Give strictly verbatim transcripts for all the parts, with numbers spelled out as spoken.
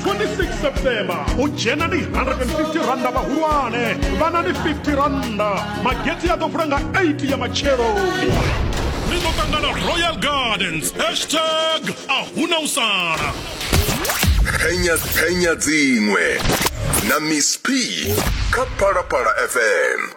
twenty-six September. U dzhena ndi one hundred fifty randa vhahulwane, vhana ndi fifty randa. Magetsi a ḓo vula nga eight ya matsheloni. Ri ḓo ṱangana Royal Gardens. Hashtag a huna u sala. Penya penya dziṅwe na Miss P kha Phalaphala F M.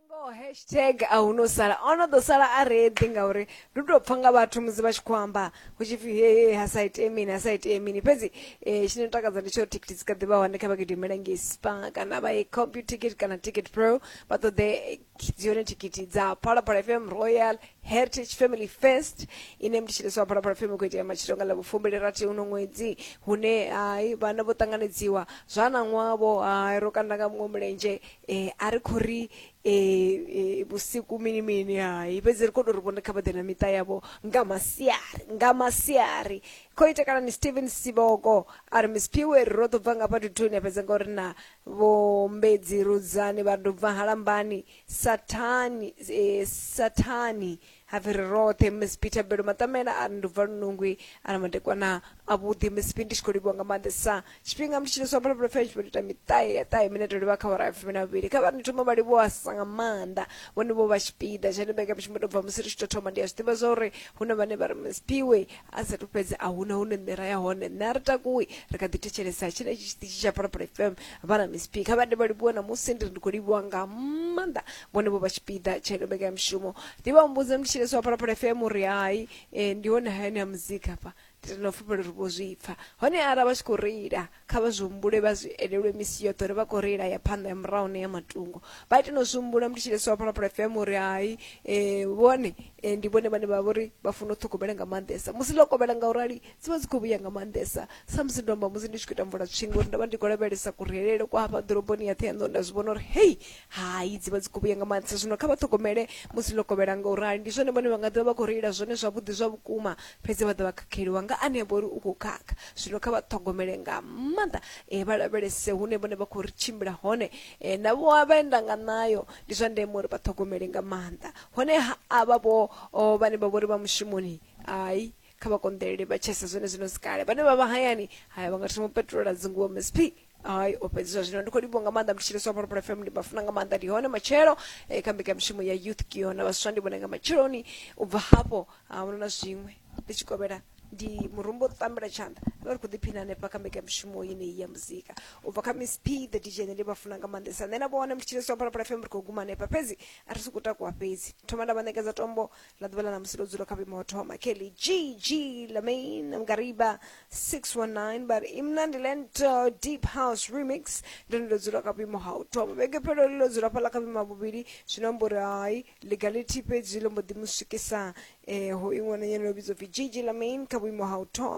Ngoho, hashtag a hu no sala, ono ḓo sala a reḓi, ngauri ndi u tou pfa nga vhathu musi vha tshi khou amba hu tshi pfi he ha sa itee mini, ha sa itee mini. Fhedzi um tshine takadza ndi tsho uri thikhithi dzi kha ḓi vha hone. Kha vha gidimela ngei Spar kana vha ye Computicket kana Ticket Pro, vha ṱoḓe dzi hone thikhithi dza Phalaphala F M Royal Heritage Family Fest, ine mthetshelesi wa Phalaphala F M khou itea matshilo nga ḽa vhufumbili rathi uno ṅwedzi, hune hai vhana vho ṱanganedziwa zwa na ṅwavho. Hai, ro kanda nga muṅwe mulenzhe, um a ri khou ri eh, vhusiku mini mini, hai, fhedzi ri khou tou ri vhone kha vha ḓe na miṱa yavho nga masiari, nga masiari. Khou ita kana ni Steven Siboko a ri Miss Piwe, ro ḓo bva nga fha duthuni, a fhedza ngauri na vho Mbedzi Rudzani vha ḓo bva Halambani Sathani, eh, Sathani hapfi ri roṱhe. Miss Peter Belo Matamela a ri ndi bva Lunungwi, a ri madekwana avhuḓi Miss P, ndi tshi khou livhuwa nga maanḓesa tshifhinga mutshilisi wa Phalaphala F M tshi ita miṱahe ya ṱahe minete livha kha awara ya fumi na vhuvhili. Kha vha ri thoma vha livhuwa sa nga maanḓa vhone vho vha tshipiḓa tsha mbekanyamushumo tou bva musi ri tshi tou thoma. Ndi a zwi ḓivha zwa uri hu na vhane vha ri Miss Piwe a sathu fhedza a huna hune nṋe ra ya hone, nṋe a ri takuwi, ri kha ḓi thetshelesa tshenetshi tshiṱitshi tsha Phalaphala F M vha na Miss P. Kha vha ndi vha livhuwa na musi ndi ri ndi khou livhuwa nga maanḓa vhone vho vha tshipiḓa tsha ino mbekanyamushumo. Ndi vha humbudza mthetshelesi wa Phalaphala F M uri hai, eh, ndi hone hayani ha muzika hafha, ndi na fulufhelo uri vho zwi pfa hone. Arali vha tshi khou reila, kha vha zwi humbule, vha zwi elelwe misi yoṱhe uri vha khou reila ya phanḓa, ya murahu na ya matungo. Vha ite no zwi humbula mthetshelesi wa Phalaphala F M uri hai, um vhone eh, ndi vhone vhane vha vhori vha funa u ṱhogomela nga maanḓesa musi ḽo kovhela, nga urali dzi vha dzi khou vhuya nga maanḓesa. Sa musi ndo amba musi ndi tshi khou ita mvula tswingo uri ndo vha ndi khou lavhelesa kureilele kwa hafha ḓoroboni ya Ṱhohoyanḓou, nda zwi vhona uri hei hai, dzi vha dzi khou vhuya nga maanḓesa. Zwino kha vha ṱhogomele musi ḽo kovhela, nga urali ndi zwone vhone vha nga ḓovha vha khou reila zwone zwavhuḓi zwa vhukuma, fhedzi vha ḓo vha khakheliwa nga ane a vha uri u khou khakha. Zwino kha vha ṱhogomele nga maanḓa, um vha lavhelese hune vhone vha khou ri tshimbila hone, um na vho vhaenda nga ṋayo ndi zwa ndeme uri vha ṱhogomele nga maanḓa. Honeha avha vho o, vhane vha vhori vha mushumoni, ai, kha vha konḓelele vha tshese zwone zwino sikale. Vhane vha vha hayani, haya, vha nga thoma u petrola dzinguwo. Miss P hai, o fhedziswa. Zwino ndi khou livhuwa nga maanḓa mthetshelesi wa Phalaphala F M, ndi vha funa nga maanḓa. Ndi hone matshelo eh, kha mbekanyamushumo ya Youth Kiona vhaswa, ndi vhone nga matsheloni. U bva hafho a huna na zwiṅwe, ndi tshi kovhela ndi murumbo u ṱambela tshanḓa, vha ri khou ḓiphina hanefha kha mbekanyamushumo yeneyi ya muzika u bva kha Miss P the D J. Nṋe ndi vha funa nga maanḓesa, nṋe na vhone mthetshelesi wa Phalaphala F M. Ri khou guma hanefha, fhedzi a ri sokou takuwa, fhedzi thoma nda vha ṋekedza tombo ḽa ḓuvha ḽa ṋamusi ḽo dzula kha vhuimo ho thoma Kelly G G Lamain Mgariba six one nine, but imnandi lento deep house remix ndo ndo dzula kha vhuimo ha u thoma. Vhege phelo ḽo dzula fhaḽa kha vhuimo ha vhuvhili, zwino amba uri hai legality fhedzi ḽo mbo ḓi mu swikisa eh, ho iṅwe nyana yo vhidzwa pfi G G Lamain kha vhuimo ha u thoma.